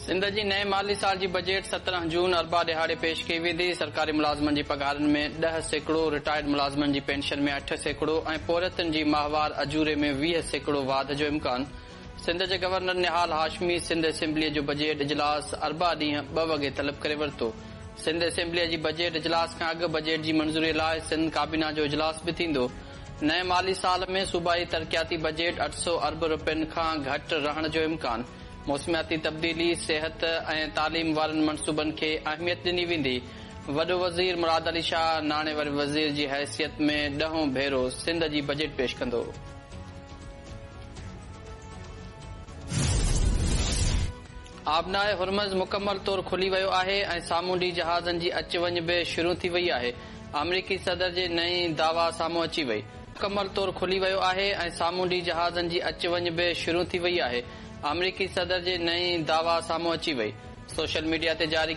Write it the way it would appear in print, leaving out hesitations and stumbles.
سنڌ جي نئين مالي سال جي بجيٽ 17 جون اربع ڏهاڙي پيش ڪئي ويندي. سرڪاري ملازمن جي پگهارن ۾ 10%، رٽائرڊ ملازمن جي پينشن ۾ 8% ۽ پورهيتن جي ماهوار اجوري ۾ 20% واڌ جو امڪان. سنڌ جي گورنر نهال هاشمي سنڌ اسيمبليء جو بجيٽ اجلاس اربع ڏينهن 2 وڳي طلب ڪري ورتو. سنڌ اسيمبليء جي بجيٽ اجلاس کان اڳ بجيٽ جي منظوري لاء سنڌ ڪابينا جو اجلاس به ٿيندو. نئين مالي سال ۾ صوبائي ترقياتي بجيٽ 800 ارب رپين کان گهٽ رهڻ جو امڪان. موسمياتي تبديلي، صحت ۽ تعليم وارن منصوبن کي اهميت ڏني ويندي. وڏو وزير مراد علي شاهه ناڻي واري وزير جي حيثيت ۾ ڏهون ڀيرو سنڌ جي بجيٽ پيش ڪندو. آبنائي هرمز مڪمل طور کلي ويو آهي ۽ سامونڊي جهازن جي اچ وڃ به شروع ٿي وئي آهي، آمريڪي صدر جي نئين دعويٰ سامهون اچي وئي. مڪمل طور کلي ويو آهي ۽ سامونڊي جهازن جي اچ وڃ به شروع ٿي وئي آهي، آمريڪي صدر جي نئين دعويٰ سامهون اچي وئي. سوشل ميڊيا تي جاري.